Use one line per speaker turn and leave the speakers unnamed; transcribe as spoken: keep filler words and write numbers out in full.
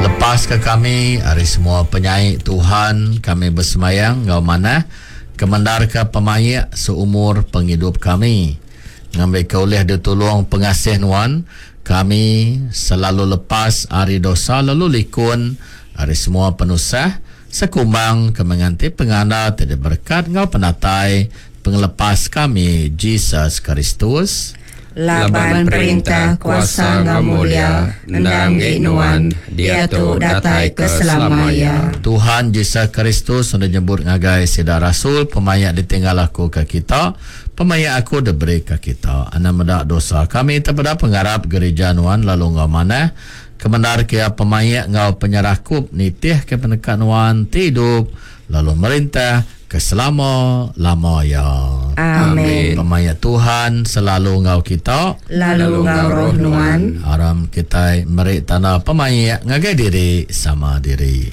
Lepaska kami ari semua penyai Tuhan, kami besemayang enggau manah kemendarka pemaik seumur pengidup kami. Ngambika ulih ditulung pengasih Nuan, kami selalu lepas ari dosa lalu likun ari semua penusah, sekumbang kami nganti pengandal ti diberekat enggau penatai Pengelepas kami, Jesus Kristus.
Laban perintah, kuasa enggau mulia endang enggi Nuan, diatu datai ke selama iya.
Tuhan Jesus Kristus udah nyebut ngagai sida rasul, Pemaik ditinggal aku ke kita, pemaik aku diberi ke kita. Anang meda dosa kami, tang peda pengarap gerija Nuan lalu enggau manah kemendarka iya pemaik enggau penyerakup nitihka peneka Nuan ti idup lalu merintah ke selama-lama iya.
Amin.
Pemaik Tuhan selalu enggau kita.
Lalu enggau roh Nuan.
Aram kitai meri tanda pemaik ngagai diri sama diri.